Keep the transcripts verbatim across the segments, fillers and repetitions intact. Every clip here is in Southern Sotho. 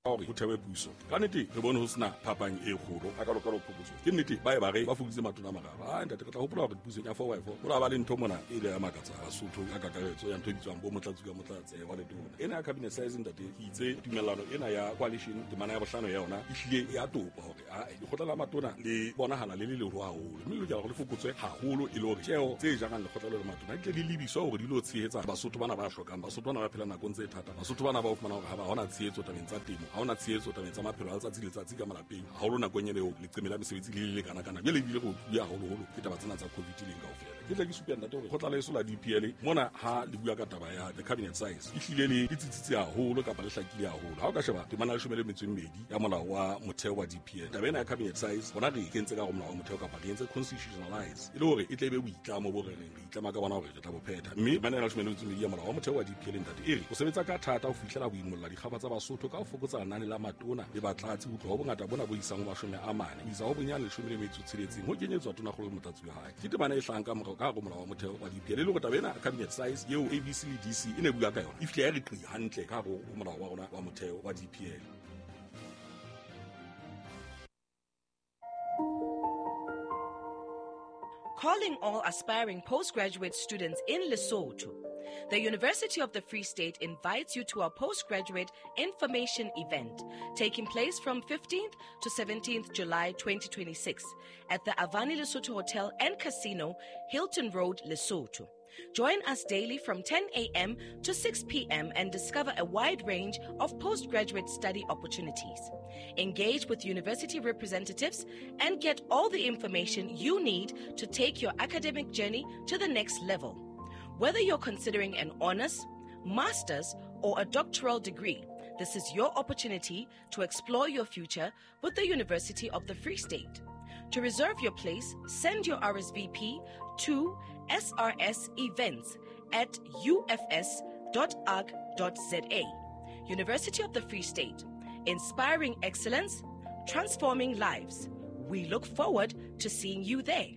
Hore ho thewe puso ka nnete re bone ho sena phapang e kgolo a kalokalo phokotso. Ke nnete ba e ba re ba fokoditse matona a mararo. A ntate, re tla hopola hore pusong ya four by four ho la ba le ntho mona e ile ya makatsa Basotho ka kakaretso ya ntho e bitswang bo motlatsi ka motlatse wa letona ena ya cabinet size. Ntate, ke itse tumellano ena ya coalition, temana ya bohlano ya yona e hlile ya topa hore ae lekgotla la matona le bonahala le le leholo haholo, mme le lokela hore le fokotswe haholo e le hore tjeo tse jarang lekgotla le le matona di tle di lebiswa hore di lo tshehetsa Basotho bana ba hlokang, Basotho bana ba phelang nakong tse thata, Basotho bana ba o fumana hore ha ba hona tshehetso tabeng tsa temo, ha hona tshehetso tabeng tsa maphelo a letsatsi le letsatsi ka malapeng, haholo nakong ena eo leqeme la mesebetsi le le lekana kana jwale ebile re otluwe haholoholo ke taba tsena tsa COVID leng kaofela. Ke tle ke supe, ntate, hore kgotla leso la D P L mona ha le bua ka taba ya the cabinet size e hlile le le tsitsitse haholo kapa le hlakile haholo. Ha o ka sheba temana ya leshome le metso e mmedi ya molao wa motheo wa D P L, taba ena ya cabinet size hona re e kentse ka hare molao wa motheo kapa re entse constitutionalize e le hore e tle e be boitlamo bo re reng re itlama ka bona hore re tla bo phetha. Mme temana ya leshome le metso e mmedi ya molao wa motheo wa D P L, ntate, e re o sebetsa ka thata ho fihlela ho imolla dikgaba tsa Basotho ka ho fokotsa lenane la matona le batlatsi ho tloha ho bongata bona bo isang ho mashome a mane ho isa ho bonyane leshome le metso tsheletseng, ho kenyetswa tonakgolo le motlatsi wa hae. Ke temana e hlahang ka morao ka hare ho molao wa motheo wa D P L e le hore taba ena cabinet size eo A B C le D C e ne bua ka yona e fihle ya re qi hantle ka hare ho molao wa rona wa motheo wa D P L. Calling all aspiring postgraduate students in Lesotho. The University of the Free State invites you to our postgraduate information event taking place from fifteenth to seventeenth July twenty twenty-six at the Avani Lesotho Hotel and Casino, Hilton Road, Lesotho. Join us daily from ten a m to six p m and discover a wide range of postgraduate study opportunities. Engage with university representatives and get all the information you need to take your academic journey to the next level. Whether you're considering an honors, master's, or a doctoral degree, this is your opportunity to explore your future with the University of the Free State. To reserve your place, send your R S V P to S R S events at U F S dot org dot Z A. University of the Free State, inspiring excellence, transforming lives. We look forward to seeing you there.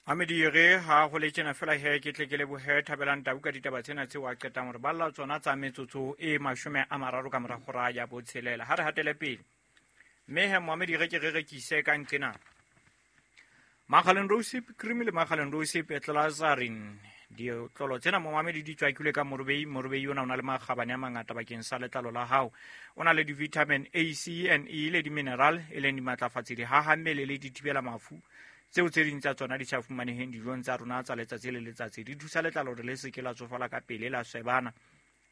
Amedire ha ho le tjena fela he ke tle ke lebohe Thabelang Tau ka ditaba tsena tseo a qetang hore balla tsona tsa metsotso e mashome a mararo ka mora hora ya botshelela. Ha re hatele pele mme he moamedi re ke re rekise ka nqena Makgaleng Rosip cream le Makgaleng Rosip Glycerin. Ditlolo tsena, momamedi, di tswakilwe ka morobei. Morobei ona o na le makgabane a mangata bakeng sa letlalo la hao. O na le di-vitamin A, C and E le di-mineral e leng dimatlafatsi, di haha mmele le di thibela mafu tseo tse ding tsa tsona di sa fumaneheng dijong tsa rona tsa letsatsi le letsatsi. Di thusa letlalo hore le se ke la tsofala ka pele, la swebana,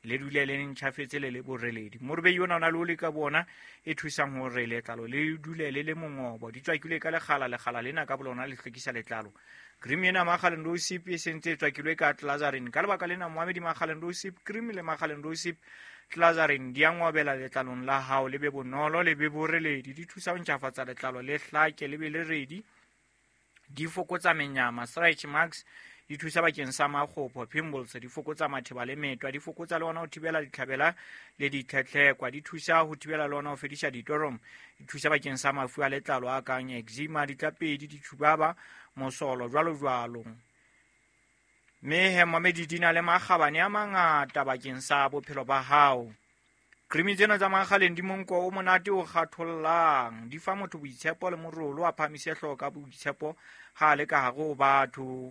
le dule le ntjhafetse le le boreledi. Morobei ona o na le oli ka bona e thusang hore letlalo le dule le le mongobo. Di tswakilwe ka lekgala. Lekgala lena ka bolona le hlwekisa letlalo. Cream ena Makgaleng Rosip e sentse e tswakilwe ka glycerin. Ka lebaka lena, moamedi, Makgaleng Rosip cream le Makgaleng Rosip Glycerin di a ngobela letlalong la hao, le be bonolo, le be boreledi. Di thusa ho ntjhafatsa letlalo, le hlake, le be le redi. Di fokotsa menyama, stretch marks. Di thusa bakeng sa makgopho, pimples. Di fokotsa matheba le metwa. Di fokotsa le ona ho thibela ditlhabela le ditlhetlhekwa. Di thusa ho thibela le ona ho fedisa ditorom. Di thusa bakeng sa mafu a letlalo a kang eczema, ditlapedi, ditshubaba, mosolo, jwalo jwalo. Mme he mamedi di na le makgabane a mangata bakeng sa bophelo ba hao. Cream tsena tsa Makgaleng di monko o monate o kgathollang. Di fa motho boitshepo le morolo, a phamise hlooho ka boitshepo ha a le ka hare ho batho,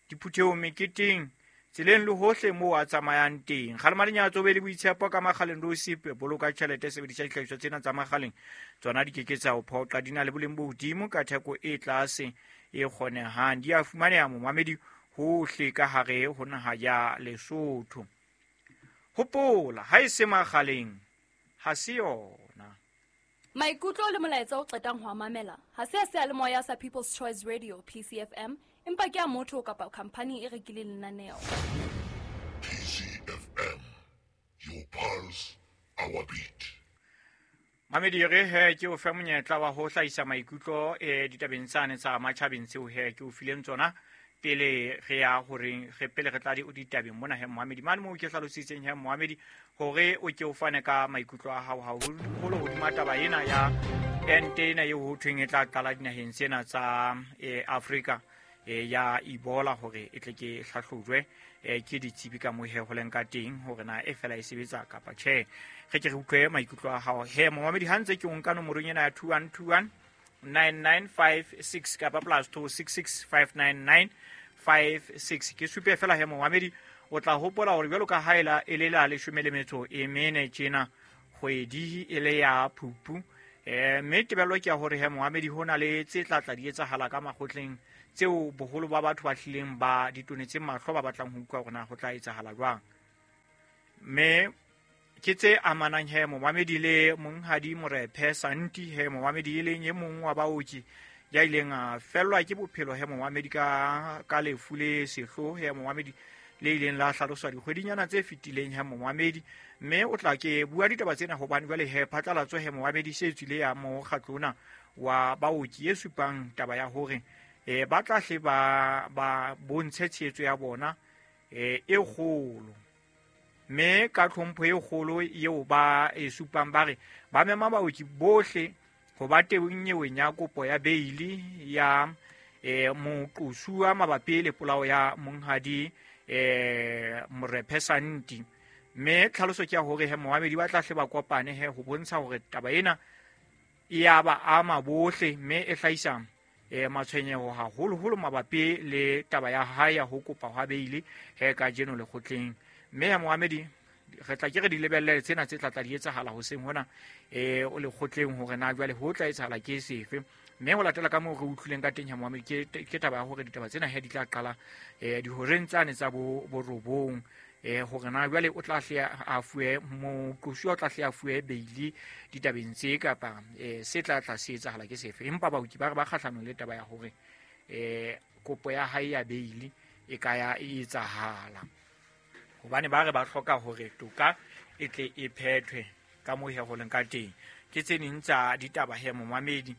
diphuthehong, meketeng, tseleng le hohle moo a tsamayang teng. Kgalema lenyatso, be le boitshepo ka Makgaleng Rosip. Boloka tjhelete, sebedisa dihlahiswa tsena tsa Makgaleng. Tsona di ke ke tsa o phoqa. Di na le boleng bo hodimo ka theko e tlase e kgonehang. Di a fumaneha, momamedi, hohle ka hare ho naha ya Lesotho. Hopola, ha e se Makgaleng ha se yona. Maikutlo le molaetsa o qetang ho a mamela ha se a seyalemoya sa People's Choice Radio, P C F M, empa ke a motho kapa khampani e rekileng lenaneo. P C F M, your pulse, our beat. Mamedi, re he ke o fe monyetla wa ho hlahisa maikutlo e ditabeng tsane tsa matjhabeng tseo he ke o fileng tsona pele re ya horeng re pele re tla di ditabeng mona. He moamedi, mane moo ke hlalositseng, he moamedi, hore o ke o fane ka maikutlo a hao haholo hodima taba ena ya ente ena eo ho thweng e tla qala dinaheng tsena tsa eh, Afrika. e ya Ebola hore e tle ke hlahlojwe e ke ditsebi ka mohe ho leng ka teng hore na e fela e sebetsa kapa tjhe. Re ke re utlwe maikutlo a hao he momamedi ha ntse ke o nka nomorong ena ya two one two one nine nine five six kapa plus two six six five nine nine five six. Ke supe fela he momamedi o tla hopola hore jwalo ka ha ela e le la leshome le metso e mene tjena kgwedi e le ya Phupu eh mme tebello ke ya hore he momamedi hona le tse tla tla di etsahala ka makgotleng tseo boholo ba batho ba hlileng ba ditonetse mahlo ba batlang ho utlwa hore na ho tla etsahala jwang. Mme ke tse amanang he momamedi le monghadi Morephe Santi he momamedi e leng e mong wa baoki ya ileng a fellwa ke bophelo he momamedi ka ka lefu le sehloho he momamedi le ileng la hlaloswa dikgwedinyana tse fetileng he momamedi. Mme o tla ke bua ditaba tsena hobane jwale he phatlalatso he momamedi se tswile ya mokgatlo ona wa baoki e supang taba ya hore e ba tla hle ba ba bontshe tshehetso ya bona e e kgolo mme ka tlhompho e kgolo eo ba e supang ba re ba mema baoki bohle ho ba teng nyeweng ya kopo ya beili ya e moqosuwa mabapi le polao ya monghadi e Morephe Santi. Mme tlhaloso ke ya hore he momamedi ba tla hle ba kopane he ho bontsha hore taba ena e ya ba ama bohle mme e hlahisa e matshwenyeho haholoholo mabapi le taba ya hae ya ho kopa hwa beili he ka jeno lekgotleng. Mme ya momamedi re tla ke re di lebelle tsena tse tla tla di etsahala hoseng hona e o lekgotleng hore na jwale ho tla etsahala ke sefe. Mme ho latela ka moo re utlwileng ka teng ya momamedi ke ke taba ya hore ditaba tsena he di tla qala e dihoreng tsane tsa bo borobong e hore na jwale o tla hle a fuwe moqosuwa o tla hle a fuwe beili ditabeng tse kapa e se tla tla se etsahala ke sefe. Empa baoki ba re ba kgahlanong le taba ya hore e kopo ya hae ya beili e ka ya e etsahala hobane ba re ba hloka hore toka e tle e phethwe ka moo he ho leng ka teng. Ke tse ding tsa ditaba he momamedi.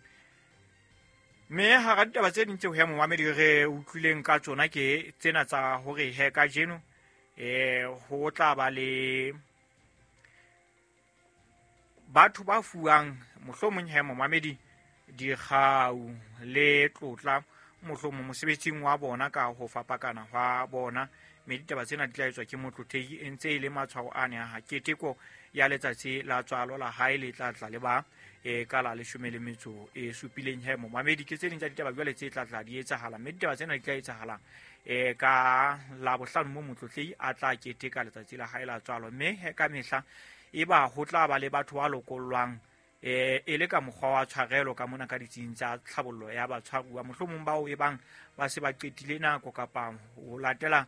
Mme hara ditaba tse ding tseo he momamedi re utlwileng ka tsona ke tsena tsa hore he kajeno eh ho tla ba le batho ba fuwang mohlomong he momamedi dikgau le tlotla mohlomong mosebetsing wa bona ka ho fapakana hwa bona. Mme ditaba tsena di tla etswa ke motlotleki e ntse e le matshwao a ne a keteko ya letsatsi la tswalo la hae le tla tla le ba e ka la leshome le metso e supileng he momamedi. Ke tse ding tsa ditaba jwale tse tla tla di etsahala mme ditaba tsena di tla etsahala e ka la bohlano mo motlotleki a tla keteka letsatsi la hae la tswalo. Mme he ka mehla e ba ho tla ba le batho ba lokollwang e e le ka mokgwa wa tshwarelo ka mona ka ditsing tsa tlhabollo ya batshwaruwa mohlomong bao e bang ba se ba qetile nako kapa ho latela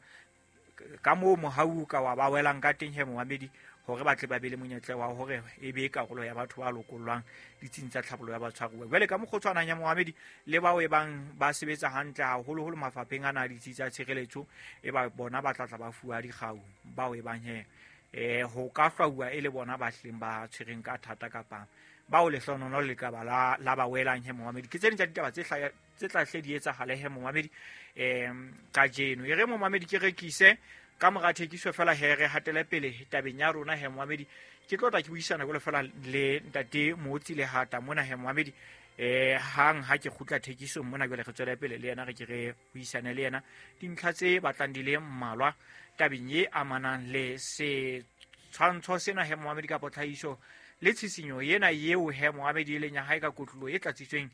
ka moo mohau ka wa ba welang ka teng he momamedi hore ba tle ba be le monyetla wa hore e be karolo ya batho ba lokollwang ditsing tsa tlhabollo ya batshwaruwa. Jwale ka mokgotshwanang ya momamedi le bao e bang ba sebetsa hantle haholoholo mafapheng ana a ditsi tsa tshireletso e ba bona ba tla tla ba fuwa dikgau bao e bang he eh ho ka hlwauwa e le bona ba hleng ba tshwereng ka thata kapa bao lehlonono le ka ba la la ba welang he momamedi. Ke tse ding tsa ditaba tse hlaya tse tla hle di etsahale he momamedi em kajeno. E re momamedi ke rekise ka mora thekiso fela he re hatele pele tabeng ya rona he momamedi. Ke tlo tla ke buisana jwalo fela le ntate Motsi le hata mona he momamedi eh hang ha ke kgutla thekisong mona jwale re tswele pele le yena re ke re buisane le yena dintlha tse batlang di le mmalwa tabeng e amanang le se tshwantsho sena he momamedi ka tlhahiso le tshisinyo ena eo he momamedi e leng ya hae ka kotlolo e tlatsitsweng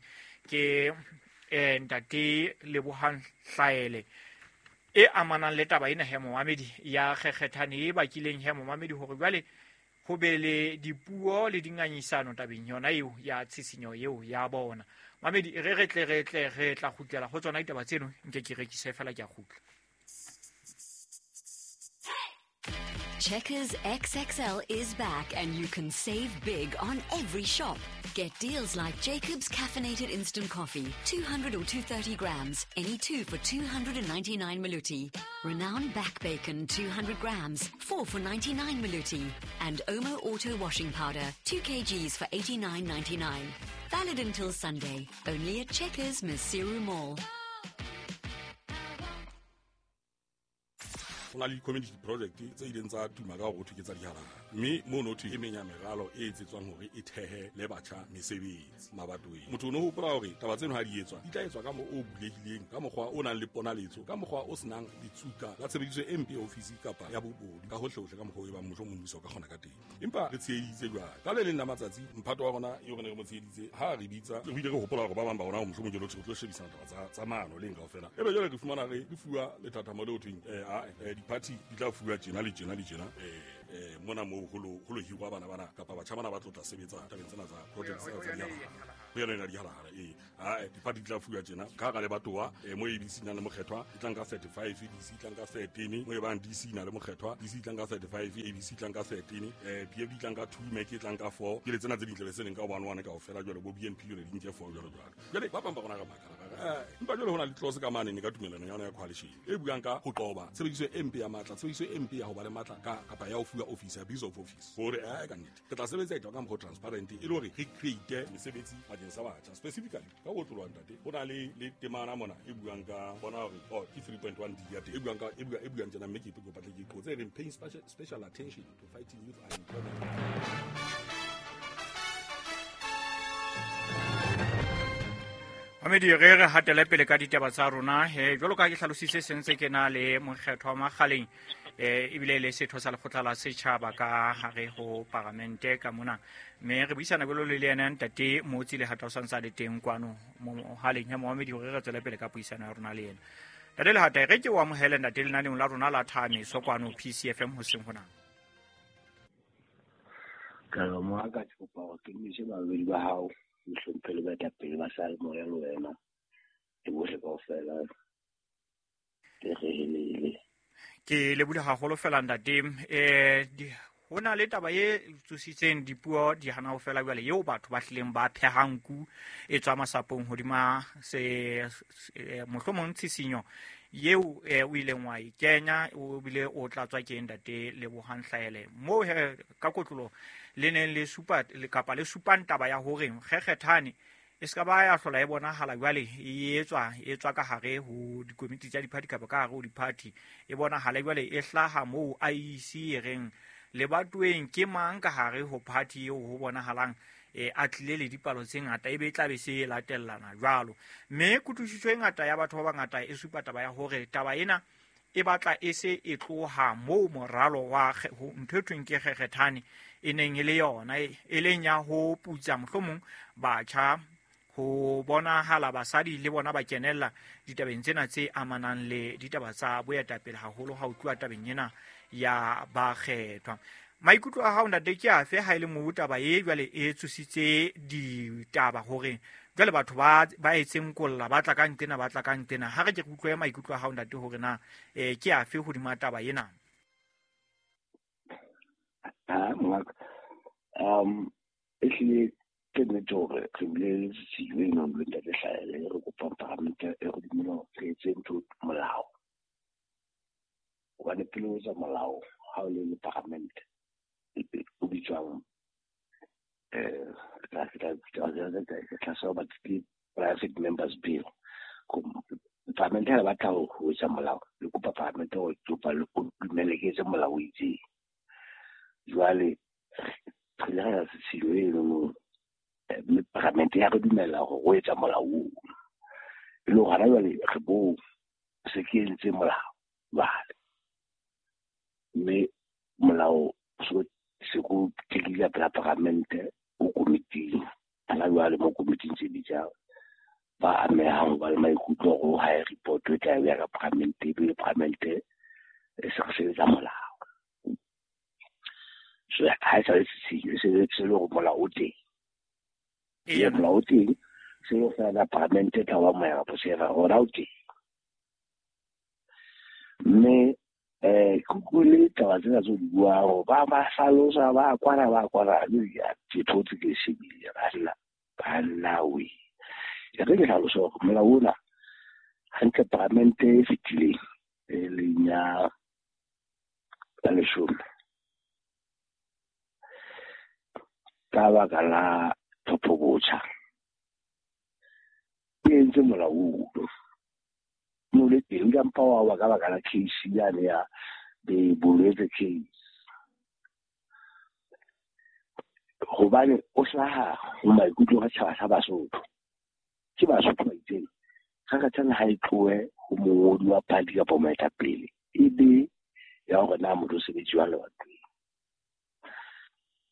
ke eh ntate Lebohang Hlaele e amanang le taba ena he momamedi ya kgekgethane e bakileng he momamedi hore jwale ho be le dipuo le dingangisano tabeng yona eo ya tshisinyo eo ya bona. Mamedi re re tle re tle re tla kgutlela ho tsona ditaba tseno nke ke rekise fela ke a kgutla. Checkers X X L is back and you can save big on every shop. Get deals like Jacob's Caffeinated Instant Coffee, two hundred or two hundred thirty grams, any two for two hundred ninety-nine maluti. Renown Back Bacon, two hundred grams, four for ninety-nine maluti. And Omo Auto Washing Powder, two kilograms for eighty-nine ninety-nine. Valid until Sunday, only at Checkers Maseru Mall. Ho na le di-community project tse ileng tsa tuma ka hore ho thwe ke tsa dihalala, mme mono thwe e meng ya meralo e etsetswang hore e thehe le batjha mesebetsi mabatoweng. Motho o no hopola hore taba tseno ha di etswa di tla etswa ka mo o bulehileng, ka mokgwa o nang le ponaletso, ka mokgwa o senang ditsuka la tshebediso e mpe ya ofisi kapa ya bobodu ka hohlehohle, ka mokgwa o e bang mohlomong mmuso o ka kgona ka teng. Empa re tsheheditse jwale ka le leng la matsatsi mphato wa rona eo re ne re mo tsheheditse ha re bitsa, re bile re hopola hore ba bang ba rona mohlomong ke lotho re tlo shebisana taba tsa tsa maano leng kaofela. Ebe jwale re fumana re re fuwa lethathamo leo thweng eh a di-party di tla fuwa tjena le tjena le tjena eh mona moo ho lo ho lo hirwa bana bana kapa batjha bana ba tlo tla sebetsa tabeng tsena tsa projects tsa dihalala. Ho yona dihalala eh a di-party di tla fuwa tjena ka hara lebatowa mo A B C na le mokgethwa e tla nka thirty-five, D C e tla nka thirteen, mo e bang D C na le mokgethwa D C e tla nka thirty-five, A B C e tla nka thirteen, eh P F D e tla nka two, M E C e tla nka four. Ke le tsena tse ding tlabe se leng ka one one kaofela jwale bo B N P jwale di nke four jwalo jwalo. Jwale ba bang ba rona re makala eh empa jwale ho na le clause ka mane ne ka tumelano ya yona ya coalition e buang ka ho qoba tshebediso e mpe ya matla, tshebediso e mpe ya ho ba le matla ka kapa ya ho fuwa office, abuse of office, hore eh ka nnete re tla sebetsa e ka mokgwa transparent e le hore re create mesebetsi bakeng sa batjha specifically ka ho tlolwa ntate. Ho na le le temana mona e buang ka bona hore oh ke three point one D ya teng e buang ka e buang e buang tjena, mme ke kopa tle ke qotse e reng paying special, special attention to fighting youth unemployment. Mamedi, re re hatele pele ka ditaba tsa rona he jwalo ka ke hlalositse sentse ke na le mokgethwa wa Makgaleng eh ebile le setho sa lekgotla la setjhaba ka hare ho paramente ka mona, mme re buisana jwalo le yena ntate Motsi le Lehata o santsa le teng kwano mohaleng ya Mohamedi hore re tswele pele ka puisano ya rona le yena. Ntate Lehata, re ke o amohele ntate lenaneong la rona la Thameso kwano P C F M hoseng hona. Ka mo ka kopa hore ke mise babedi ba hao mohlomphe le baetapele ba sa le moya le wena le bohle kaofela ke rehelele. Ke lebohile haholo fela ntate. Eh ho na le taba e tsositseng dipuo di hana ho fela jwale eo batho ba hlileng ba phehang nku e tswa masapong hodima se mohlomong tshisinyo eo o ileng wa e kenya o bile o tlatswa ke ntate Lebohang Hlaele moo ka kotlolo le neng le supa le kapa le supang taba ya hore kgekgethane e ska ba ya hlola e bonahala jwale e etswa e tswa ka hare ho dikomiti tsa di-party kapa ka hare ho di-party e bonahala jwale e hlaha moo I E C e reng lebatoweng ke mang ka hare ho party eo ho bonahalang e a tlile le dipalo tse ngata ebe e tla be se latellana jwalo. Mme kutlwisiso e ngata ya batho ba bangata e supa taba ya hore taba ena e batla e se e tloha moo moralo wa ntho e thweng ke kgekgethane e neng e le yona e leng ya ho putsa mohlomong batjha ho bonahala basadi le bona ba kenella ditabeng tsena tse amanang le ditaba tsa boetapele haholo ha o tluwa tabeng ena ya bakgethwa. Maikutlo a hao ntate ke afe ha e le moo taba e jwale e tsositse ditaba hore jwale batho ba ba etseng kolla ba tla ka ntena ba tla ka ntena, ha re ke utlwe maikutlo a hao ntate hore na eh ke afe hodima taba ena? Ah ngaka um ehlile ke nnete hore re bile le tshisinyo e nang le ntate Hlaele re kopang paramente e re dumela hore re etse ntho molao, hobane pele o etsa molao ha o le le paramente o bitswang eh ke private members bill. Paramente ha batla ho etsa molao le kopa paramente hore kopa le dumele ke etse molao o itseng. Jwale re ile ra tshisinyo eno mme paramente ya re dumella hore o etsa molao oo, e le hore hona jwale re bo se ke entse molao jwale, mme molao so se ko tekile pela paramente o komiting hona jwale mo komiting tse bitsang ba amehang ba le maikutlo hore ha e report e tla ya ka paramente ebile paramente e se re sebetsa molao. So ha e sa le tshisinyo se se le hore molao o teng, e molao o teng se le fela paramente e tla wa moya kapo se rona o teng. Mme eh kutlwile taba tsena tse o di buang hore ba ba hlalosa ba kwana ba kwana ke thotse ke shebile banna banna we e re ke hlalosa hore molao ona hantle paramente e fetileng e leng ya ya leshome ka baka la tlhopho botjha e entse molao ono no le teng ka mpa wa ka baka la case yane ya The Bolwetse case. Hobane o hlaha ho maikutlo a setjhaba sa Basotho. Ke Basotho ba itseng kgakgathane ha e tlohe ho mongodi wa party kapa moetapele, e be ya hore na motho o sebetse jwang lebatoweng.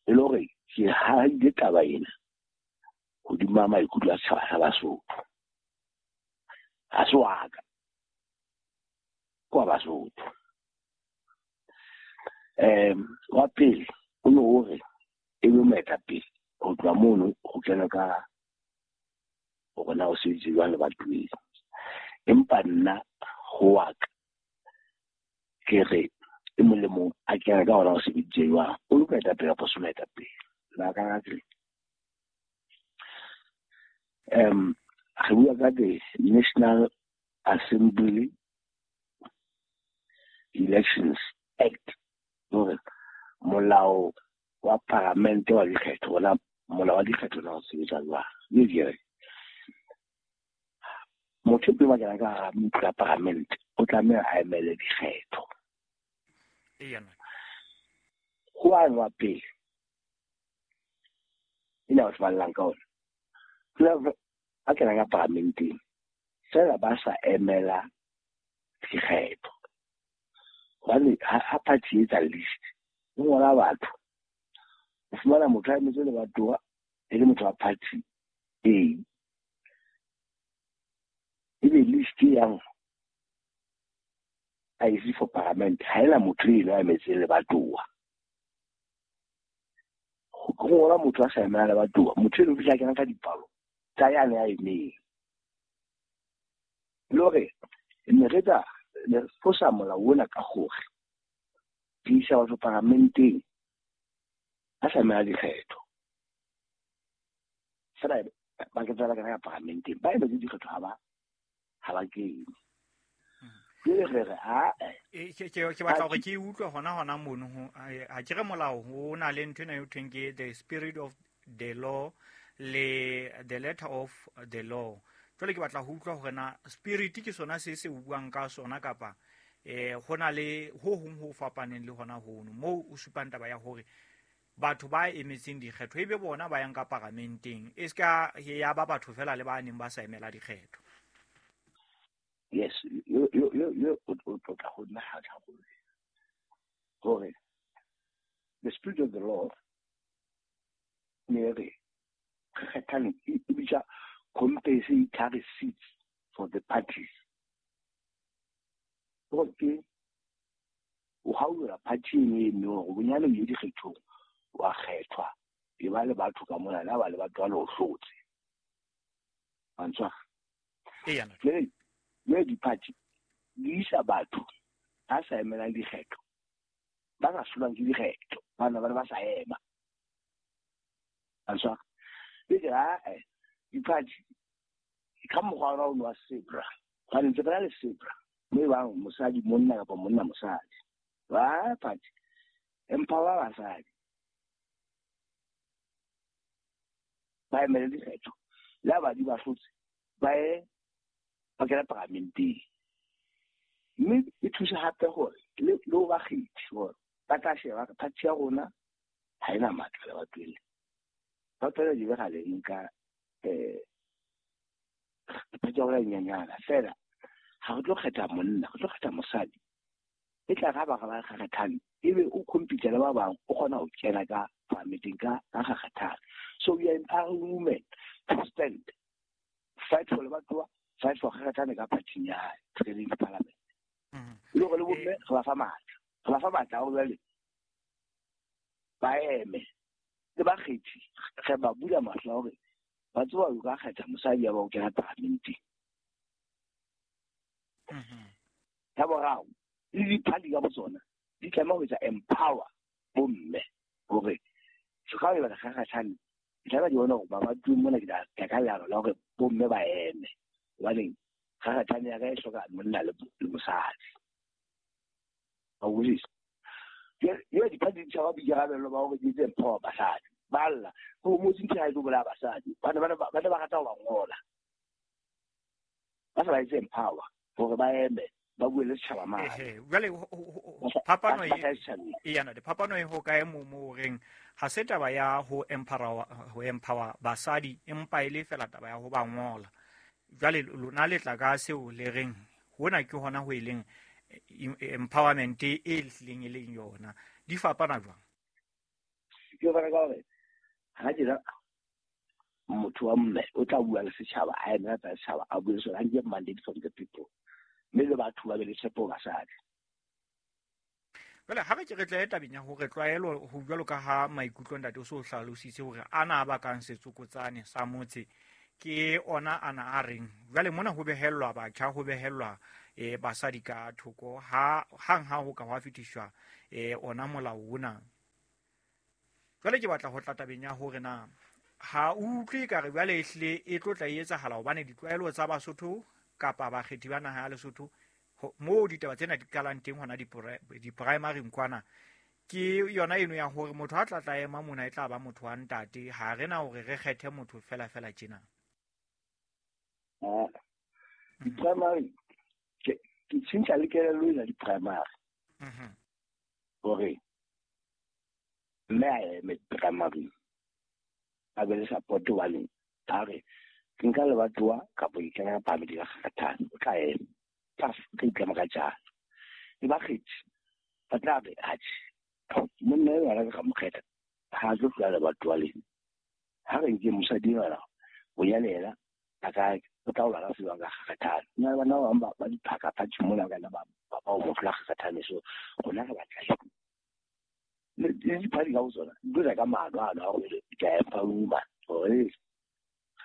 E le hore ke haile taba ena hodima maikutlo a setjhaba sa Basotho. Ha se wa ka, ke wa Basotho. Um wa pele o ne o re e be moetapele ho tloha mono ho kena ka hore na o sebetse jwang lebatoweng. Empa nna ho wa ka ke re e mong le mong a kena ka hore o sebeditse jwang, o le moetapele kapa o se moetapele. Lebaka la teng, um re bua ka the National Assembly Elections Act, hore molao wa paramente wa dikgetho, ona molao wa dikgetho na o sebetsa jwang. Mme ke re motho pele ba kena ka hara ntlo ya paramente o tlameha a emele dikgetho. Ho ane wa pele ena batho ba llang ka ona, a kenang ka paramenteng fela ba sa emela dikgetho. Hobane ha party e etsa list e ngola batho, o fumana motho a emetse lebatowa e le motho wa party A, ebe list e yang I C for parliament ha ena motho eno a emetseng lebatowa. Ho ngola motho a sa emela lebatowa, motho eno o fihla kena ka dipalo tsa yane a emeng. Le hore ne re tla ne re fosa molao ona ka hore re isa batho paramenteng a sa emela dikgetho. Fela ba ke tsela ka paramenteng ba emetse dikgetho ha ba ha ba kene. Jwale re re ha ke ke batla hore ke utlwe hona hona mono ho ha ke re molao ho na le ntho ena e thweng ke the spirit of the law le the letter of the law. Jwale ke batla ho utlwa hore na spirit ke sona se se buang ka sona kapa eh ho na le ho hong ho fapaneng le hona hono moo o supang taba ya hore batho ba emetseng dikgetho ebe bona ba yang ka paramenteng e ska ya ba batho fela le ba neng ba sa emela dikgetho. Yes, yo yo yo yo o tla ho nna ha hore the spirit of the law ne re kgethane e bitsa compensatory seats for the parties. Hore ke o haola party e eno hore bonyane o ye dikgethong wa kgethwa e ba le batho ka mona la ba le batho ba le o hlotse. Mantswa. Eya. Mme di-party di isa batho ba sa emelang dikgetho, ba sa hlolwang ke dikgetho, bana ba ne ba sa ema. Mantswa. Le ke ae di-party ka mokgwa ona ono wa sebra, hobane ntse re na le sebra mo e bang mosadi monna kapa monna mosadi. Ba party empower basadi ba emele dikgetho, le ha badi ba hlotse ba ye ba kena paramenteng. Mme e thusa hape hore le le ho bakgethi hore ba tla sheba party ya rona ha ena matla lebatoweng lena. Batho ba di be le nka eh party ya rona e nyenyana fela ha re tlo kgetha monna, re tlo kgetha mosadi. E tla re ha ba re ba kgethane ebe o compete le ba bang o kgona ho kena ka paramenteng ka ka kgethane. So we are empowering women to stand, fight for lebatowa, fight for kgethane ka party ya hae, training parliament. Le hore le bomme re ba fa matla, re ba fa matla hore jwale ba eme le bakgethi, re ba bula mahlo hore ba tseba o ka kgetha mosadi ya ba o kena paramenteng. Ya boraro, le di-party ka botsona di tlameha ho etsa empower bomme hore se ka e batla kgakgathane, di tlameha di bone hore ba batho mona ke tla ka leano la hore bomme ba eme, hobaneng kgakgathane ya ka e hloka monna le mosadi. Wa utlwisisa? Jwale di-party di tshaba boikarabelo ba hore di etse empower basadi. Ba lla ho motse ntho ha e tlo bolaya basadi, ba ne ba rata ho ba ngola, ba sa ba etse empower hore ba eme Ba bue le setjhaba mane. Ehe, jwale phapano e yana de phapano e ho kae mo mo reng ha se taba ya ho empower ho empower basadi empa ile fela taba ya ho ba ngola. Jwale lona le tla ka seo le reng hona ke hona ho eleng empowerment e hlileng e leng yona. Di fapana jwang? Ke ba ka hore ha ke motho wa mme o tla bua le setjhaba a ena tsa setjhaba a bue sona nke mandate from the people. Mme le batho ba be le tshepo basadi. Jwale ha re ke re tla tabeng ya hore tlwaelo ho jwalo ka ha maikutlo ntate o so hlalositse hore ana ba kang setsokotsane sa motse ke ona ana a reng jwale mona ho behellwa batjha ho behellwa eh basadi ka thoko ha hang ha ho ka hwa fetiswa eh ona molao ona. Jwale ke batla ho tla tabeng ya hore na ha utlwe ka re jwale ehle e tlo tla etsahala hobane ditlwaelo tsa Basotho kapa bakgethi ba naha ya Lesotho mo ditaba tsena di qalang teng hona di-primary nkwana ke yona eno ya hore motho a tla tla ema mona e tla ba motho wa ntate ha re na hore re kgethe motho fela fela tjena. Ah, di-primary ke tjhentjha le kelello ena di-primary mhm hore mme a eme primary a be le support hobane a re ke nka lebatowa kapa ke kena ka phamedi ka kgathane o tla ema tla ke itlama ka jalo le bakgethi ba tla re atjhe monna eo a ka mo kgetha ha tlo tlola lebatowa lena ha re nke mosadi yona bonyane yena a ka o tla o lala sebang ka kgathane nna bana ba bang ba diphaka phatši mona ka nna ba ba o mo tlola kgathane so rona re batla eng le diphadi ka ho tsona di tlo tla ka maano ano a hore ke a empower woman hore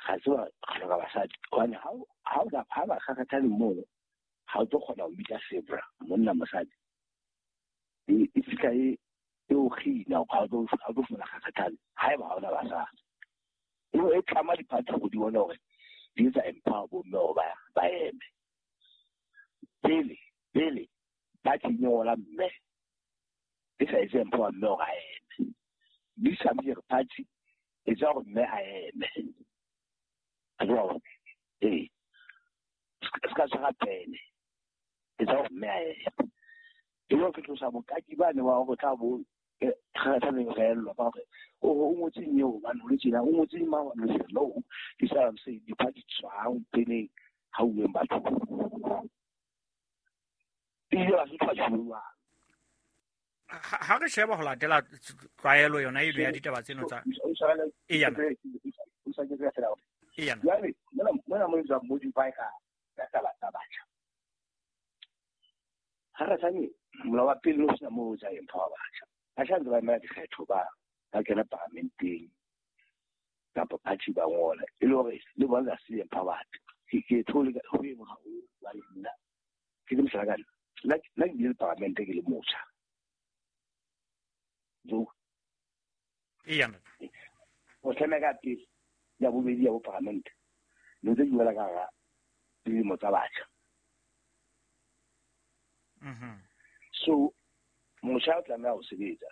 ga se ba hloka basadi hobane ha o ha ba kgakgathane mono ha o tlo kgona ho bitsa sebra monna mosadi e e fihla e e o kgina ha o tlo ha o tlo fumana kgakgathane haeba ha ona basadi e e tlama diphathi go di bona hore di etsa empower bomme hore ba ba eme pele pele ba tsenyola mme e sa etse empower mme hore a eme di sa re party e tsa hore mme a eme. Eh, se ka tshwara pene e tsa hore mme a eme e le ke tlosa bokaki bane wa hore tla bo kgathaneng reellwa ka hore o o ngotseng eo hobane o le tjena o ngotseng mang hobane o le tjena no ke sa I'm saying diphathi tswang peneng ha uweng batho ebile Basotho ba tjhuwa ha re sheba ho latela tlwaelo yona eno ya ditaba tseno tsa e yana o sa ke fela e yana jwale mona mona mo etsa modify ka ka taba tsa batjha ha re tsane molao wa pele o sena moo o tsa empower batjha batjha ntse ba emela dikgetho ba ba kena paramenteng kapa party ba ngola e le hore le bona ba se empowered ke ke thole ho e haholo jwale nna ke le mohlala ka nna nna ke bile le paramente ke le motjha jo e yana o tlame ka pele ya bobedi ya bo paramente le ntse di wela ka hara dilemo tsa batjha mhm so motjha o tlameha ho sebetsa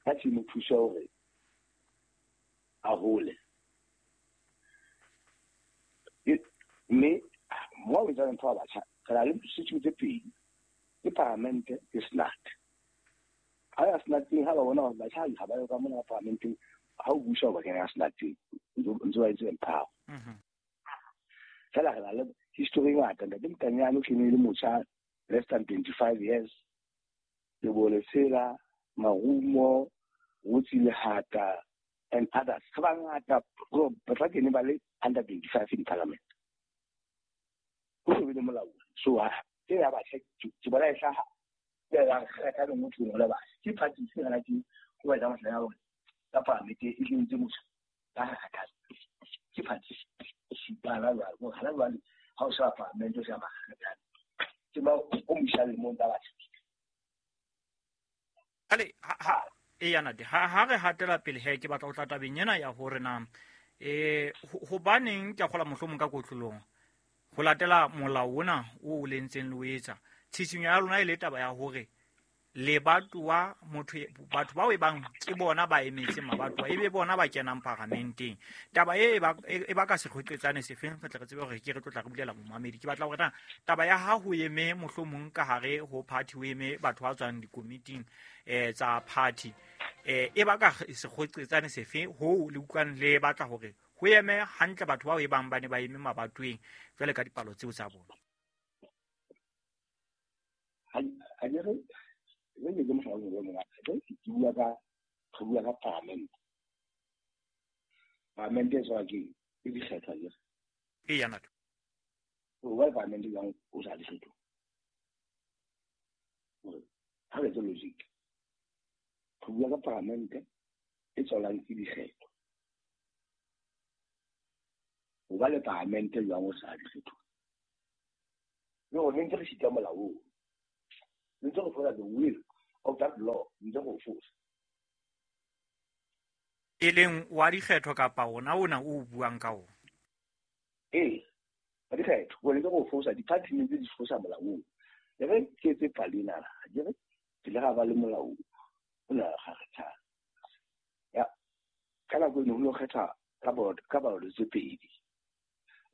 ka tshimo thusa hore a hole mme mo o etsang ntho ya batjha re na le sitjhu tse pedi ke paramente ke senate ha ya senateng ha ba bona hore batjha ha ba yo ka mona paramenteng ha o busa o ba kena senateng ntse ba etse empower mhm fela re na le history e ngata ntate Mokanyane o kene le motjha less than twenty-five years le Bolesela Marumo Rotsi Lehata and others ba bangata ba tla kene ba le under twenty-five in parliament ho so be le molao so ha ke ya batjha ke bona e hlaha ke ya kgetha le motho o le batjha ke party se ngana ke ho ba etsa mohlala ya hore ka parliament e kentse motho ba kgatha ke party bana jwale hore hana jwale ha o sheba parliament o sheba makgathane ke ba o mosha lemong tsa batjha ale ha e yana de ha ha re hatela pele he ke batla ho tla tabeng ena ya hore na eh hobaneng ke a kgola mohlomong ka kotlolong ho latela molao ona o o lentseng le o etsa tshisinyo ya lona e le taba ya hore Lebatowa motho batho bao e bang ke bona ba emetseng mabatowa e be bona ba kenang paramenteng. Taba e ba e ba ka sekgoqetsane sefeng re tle re tsebe hore ke re tlo tla re bulela momamedi. Ke batla hore na taba ya ha ho eme mohlomong ka hare ho party ho eme batho ba tswang dikomiting eh tsa party eh e ba ka sekgoqetsane sefe ho le utlwang le batla hore ho eme hantle batho bao e bang ba ne ba eme mabatoweng jwale ka dipalo tseo tsa bona. Ha re le ke mohlala o mongwe ke bua ka re bua ka parliament. Parliament e tswa ke e dikgetho ke e ya nat o ba parliament yang o sa dikgetho ha re tse logic re bua ka parliament e tswalang ke dikgetho o ba le parliament jwang o sa dikgetho no ne ntse re sita molao ntse go fola the will of that law ntse go fosa e leng wa dikgetho kapa ona ona o buang ka ona ee wa dikgetho o ntse go fosa di-party ntse di fosa molao le re ke tse palina ke re ke le ga ba le molao o na ga kgetha ya ka nako e ne ho kgetha ka board ka balo tse pedi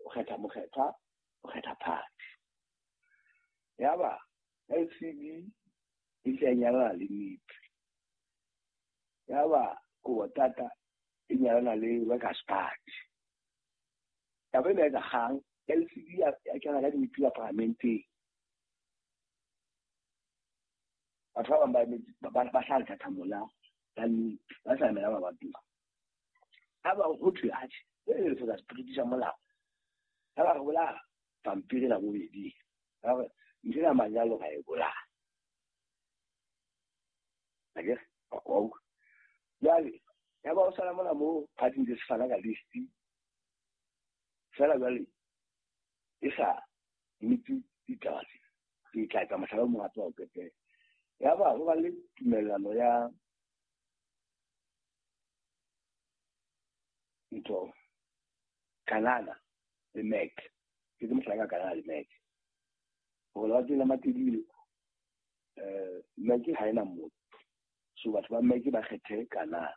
o kgetha mokgetha o kgetha party ya ba L C B e tla nyalana le N I P ya ba Kowatata e nyalana le Workers Party ya ba ena kgang L C B ya kena ka di-M P ya parlamenteng batho ba bang ba ba sa lethathamo la la N I P ba sa emela mabatowa ha ba ho thwe atjhe e le fosa spirit sa molao ha ba re bolaya pampiri la bobedi ba re ntho ya manyalo ga e bolaya akere wa jwale ya ba o sala mona mo party ntse se fana ka list fela jwale e sa nnete ditaba tse ke tla etsa mohlala o mong hape wa ho qetela ya ba ho ba le tumellano ya ntho Kanana le M E C ke mohlala ka Kanana le M E C gore ba tsela Matebele eh M E C ha ena motho so batho ba M E C ba kgethe Kanana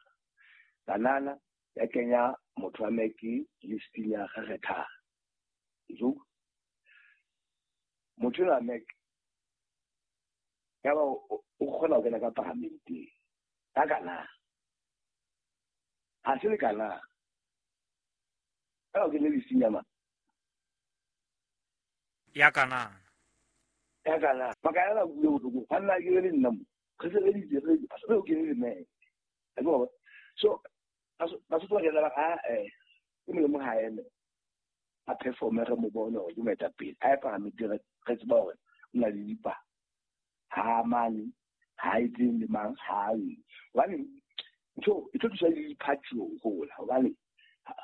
Kanana ya kenya motho wa M E C listing ya kgetha jo motho wa M E C ya ba o kgona ho kena ka parlamenteng ka Kanana ha se le Kanana ka o kene listing ya ma ya Kanana ya kana makala bua botlhoko ga nna ke le nna mo re sebeditse re re o kene le me so Basotho ba kena ba a eh ke molemo ha eme a performe re mo bone hore ke moetapele a ye parlamenteng re tseba hore o na le dipa ha mane ha e tseng le mang ha e hobane ntho e tlo thusa le di-party ho hola hobane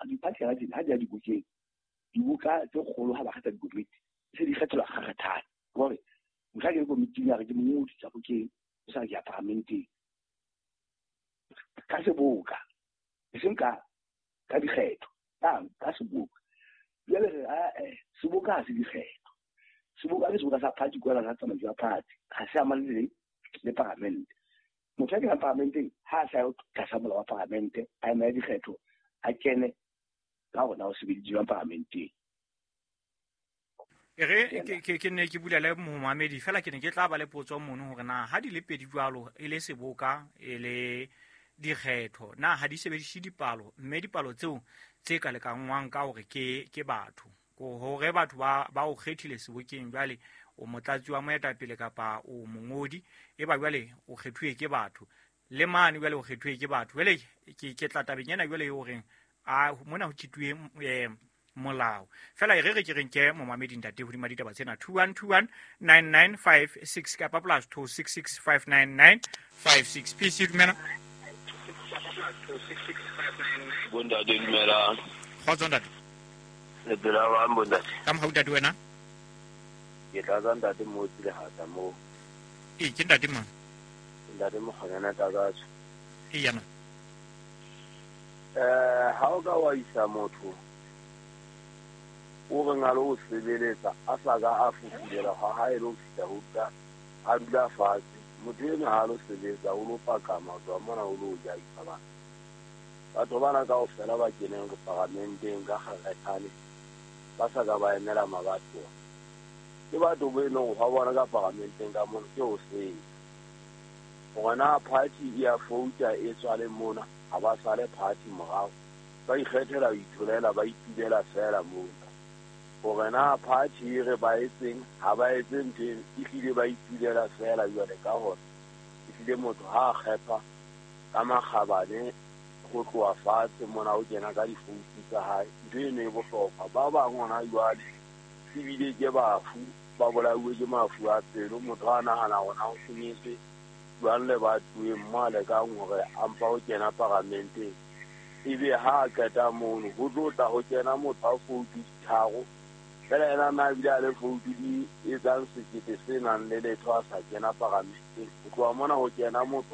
di-party ha di ha di ya dibokeng dibuka tse kgolo ha ba kgetha dikomiti se di kgethelwa kgakgathane gore nka ke komiting ya re ke mongodi tsa bokeng o sa re ke ya parlamenteng ka seboka e seng ka ka dikgetho ka ka seboka jwale re a seboka ha se dikgetho seboka ke seboka sa party kwela sa tsamaiso ya party ha se amane le le parlamente motho a kenang parlamenteng ha a sa yo tlasa molao wa parlamente a emela dikgetho a kene ka hore na o sebeditse jwang parlamenteng. E re ke ke ne ke bula le momamedi fela ke ne ke tla ba le potso mono hore na ha di le pedi jwalo e le seboka e le dikgetho na ha di sebedise dipalo mme dipalo tseo tse ka lekangwang ka hore ke ke batho ko hore batho ba ba o kgethile sebokeng jwale o motlatsi wa moetapele kapa o mongodi e ba jwale o kgethuwe ke batho le mane jwale o kgethuwe ke batho jwale ke ke tla tabeng ena jwale e horeng a mona ho tshituwe eh molao fela e re re ke reng ke momamedi ntate hodima ditaba tsena two one two one nine nine five six kapa plus two six six five nine nine five six P C dumela Bontate dumela kgotso ntate le phela ba bontate ka mohau ntate wena ke tla tsa ntate mo tsile hata mo e ke ntate mang ntate Mokgonyana Takatso e yana eh ha o ka wa isa motho o re ngalo o sebeletsa a sa ka a fufulela ha ha e lo fihla ho ka a dula fatshe Motho eno ha lo sebetsa o lo pakama ho tloha mona o lo ja bana. Batho bana kaofela ba keneng paramenteng ka kgakgathane ba sa ka ba emela mabatowa. Ke batho bo e leng hwa bona ka paramenteng ka mona ke ho senya. Hore na party e ya fouta e tswale mona ha ba sale party morao. Ba ikgethela ho itholela ba itulela feela mona. Hore na party e re ba etseng ha ba etse ntho eno, ehlile ba itulela feela jwale ka hore ehlile motho ha a kgetha ka makgabane ho tloha fatshe mona o kena ka difoutu tsa hae. Ntho eno e bohlokwa. Ba bang hona jwale ebile ke bafu ba bolauwe ke mafu a pelo. Motho a nahana hore na ho senyetswe jwang lebatoweng mo a lekang hore a mpa ho kena paramenteng. Ebe ha a qeta mono ho tlo tla ho kena motho a foutu di tharo fela ena na ebile a le foutu di etsang sekete se nang le letho a sa kena paramenteng. Ho tloha mona ho kena motho